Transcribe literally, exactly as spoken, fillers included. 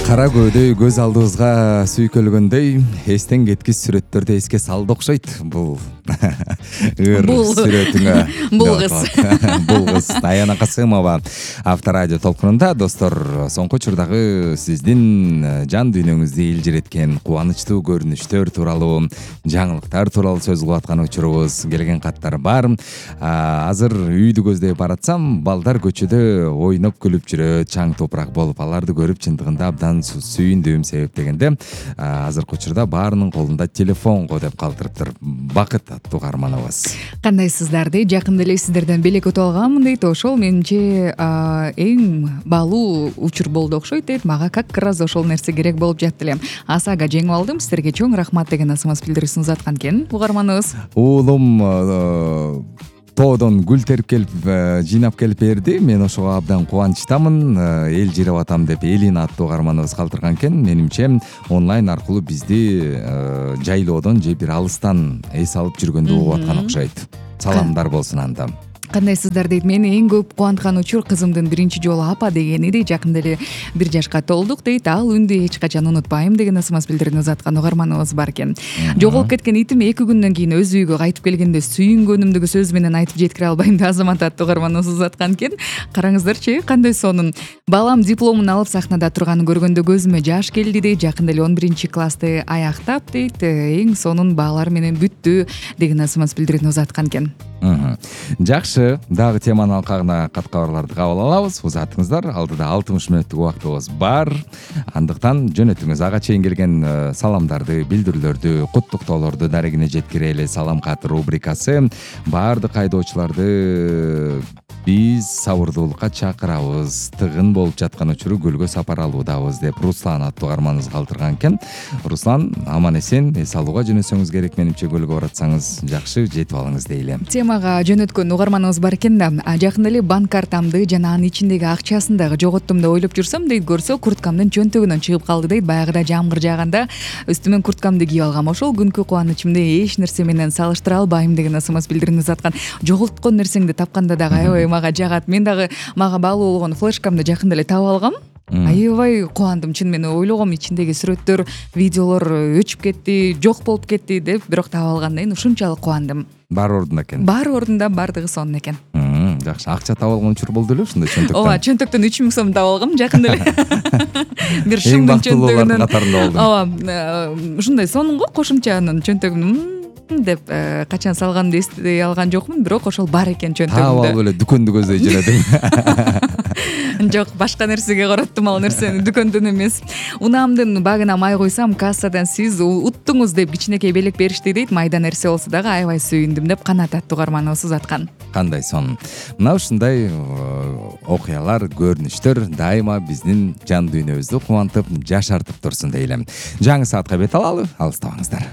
кара көөдөй көз алдыбызга сүйкөлгөндөй эстен кеткис сүрөттөрдү эске салды окшойт. Бул ыр сүрөтүңө бул кыз бул кыз Аяна Касымова Авторадио толкунунда. Достор, соңку учурдагы сиздин жан дүйнөңүздү илжиреткен кубанычтуу көрүнүштөр тууралуу, жаңылыктар тууралуу сөз кылып аткан учурубуз келген каттар бар. Азыр үйдү көздөй баратсам, балдар көчөдө ойноп күлүп жүрөт, чаң топурак болуп, аларды көрүп чындыгында абдан сүйүндүм. Себеп дегенде азыркы учурда баарынын колунда телефон го деп калтырыптыр. Бакыт аттуу каарманыбыз. Кандайсыздар дейт, жакында эле сиздерден белек өтүп алганмын дейт. Ошол менимче эң баалуу учур болду окшойт дейт. Мага как раз ошол нерсе керек болуп жатты эле. Асага жеңип алдым. Сиздерге чоң рахмат деген асымыз билдирүүсүн узаткан экен угарманыбыз. Уулум тоодон гүл терип келип, жыйнап келип берди. Мен ошого абдан кубанычтамын. Эл жиреп атам деп Элин аттуу каарманыбыз калтырган экен. Менимче онлайн аркылуу бизди жайлоодон же бир алыстан эс алып жүргөндү угуп аткан окшойт. Саламдар болсун анда. Кандайсыздар дейт. Мени эң көп кубанткан учур кызымдын биринчи жолу апа дегени дейт. Жакында эле бир жашка толдук дейт. Ал үндү эч качан унутпайм деген асымыз билдирүүнү узаткан угарманыбыз бар экен. Жоголуп кеткен итим эки күндөн кийин өз үйгө кайтып келгенде сүйүнгөнүмдү сөз менен айтып жеткире албайм деп Азамат аттуу угарманыбыз узаткан экен. Караңыздарчы, кандай сонун. Балам дипломун алып сахнада турганын көргөндө көзүмө жаш келди дейт. Жакында эле он биринчи классты аяктап дейт. Эң сонун баалар менен бүттү деген асымыз билдирүүнү узаткан экен. Жакшы, дагы теманын алкагына кат кабарларды кабыл алабыз. Узатыңыздар, алдыда алтымыш мүнөттүк убактыбыз бар. Андыктан жөнөтүңүз. Ага чейин келген саламдарды, билдирүүлөрдү, куттуктоолорду дарегине жеткире эле салам кат рубрикасы. Баардык айдоочуларды биз сабырдуулукка чакырабыз. Тыгын болуп жаткан учуру гүлгө сапар алуудабыз деп Руслан аттуу каарманыбыз калтырган экен. Руслан, аман эсен эс алууга жөнөсөңүз керек. Менимче гүлгө баратсаңыз жакшы жетип алыңыз дейли. Темага жөнөткөн угарманыбыз бар экен да. Жакында эле банк картамды жана анын ичиндеги акчасын дагы жоготтум деп ойлоп жүрсөм дейт, көрсө курткамдын чөнтөгүнөн чыгып калды дейт. Баягыда жамгыр жааганда үстүмөн курткамды кийип алгам. Ошол күнкү кубанычымды эч нерсе менен салыштыра албайм деген асымыз билдирүүнү узаткан. Жоголткон нерсеңди тапканда дагы аябай мага жагат. Мен дагы мага баалуу болгон флешкамды жакында эле таап алгам. Аябай кубандым. Чын мен ойлогом ичиндеги сүрөттөр, видеолор өчүп кетти, жок болуп кетти деп, бирок таап алгандан кийин ушунчалык кубандым. Баары ордунда экен. Баары ордунда, бардыгы сонун экен. Жакшы. Акча таап алган учур болду эле ушундай чөнтөктөн. Ооба, чөнтөктөн үч миң сом таап алгам жакында эле. Бир шымдын чөнтөгүнөн. Катарында болдум. Ооба, ушундай сонун го, кошумча анын чөнтөгүн деп качан салганымды эстей алган жокмун, бирок ошол бар экен чөнтөгүмдө. Таап алып эле дүкөндү көздөй жөнөдүм. Жок, башка нерсеге караттым ал нерсени, дүкөндөн эмес. Унаамдын багына май койсам, кассадан сиз уттуңуз деп кичинекей белек беришти дейт. Майда нерсе болсо дагы аябай сүйүндүм деп Канат аттуу каарманыбыз узаткан. Кандай сонун. Мына ушундай окуялар, көрүнүштөр дайыма биздин жан дүйнөбүздү кубантып, жашартып турсун дейли. Жаңы саатка бет алалы, алыстабаңыздар.